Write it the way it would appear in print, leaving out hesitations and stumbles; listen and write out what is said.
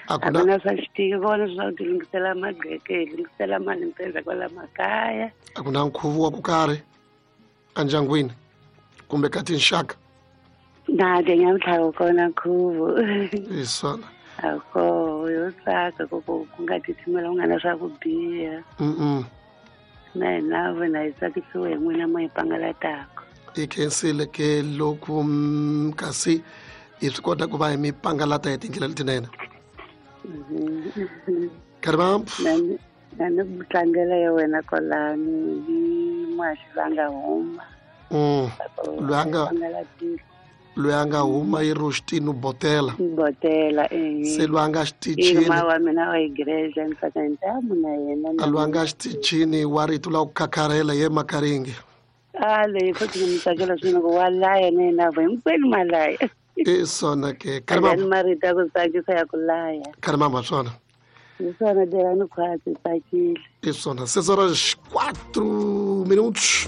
A A ku ku na swa xitiki kona swa ku tilunghisela magqeke, hi lunghisela mali mpeza kwala makaya. A ku na nkhuvo wa ku karhi endyangwini kumbe ka tinxaka? Na ke nyamuntlha wu kona nkhuvo. Hi swona. A koho yo tsaka ku ku ku nga titimela, ku nga na swa ku biha. Na hina vona hi tsakisiwe hi n'wina mo hi pangalataka. Hi khensile ke loko kasi hi swi kota ku va hi mi pangalata hi tindlela letinene. Karibampu. Na ni ku tlangela ya wena kwalani hi muhaxi va nga huma. Loyi a nga Pangalatile. Loyi a nga huma i Rostino Botela. Botela, eh. Se loyi a nga I xitichini ma wa mina wa igreja, ni tsaka ntamu na yena. A loyi a nga xitichini wa rito la ku khakharhela ye Makaringi. A leyi futhi ni mi tsakela swinene ku wa laya na yena vo hinkwenu ma laya. I swona ke. Ani Karibampu. Marito ya ku tsakisa ya ku laya. Karibampu swona. Hi swona, tirhani khwatsi, tsakile. I swona, 6 horas 4 minutos.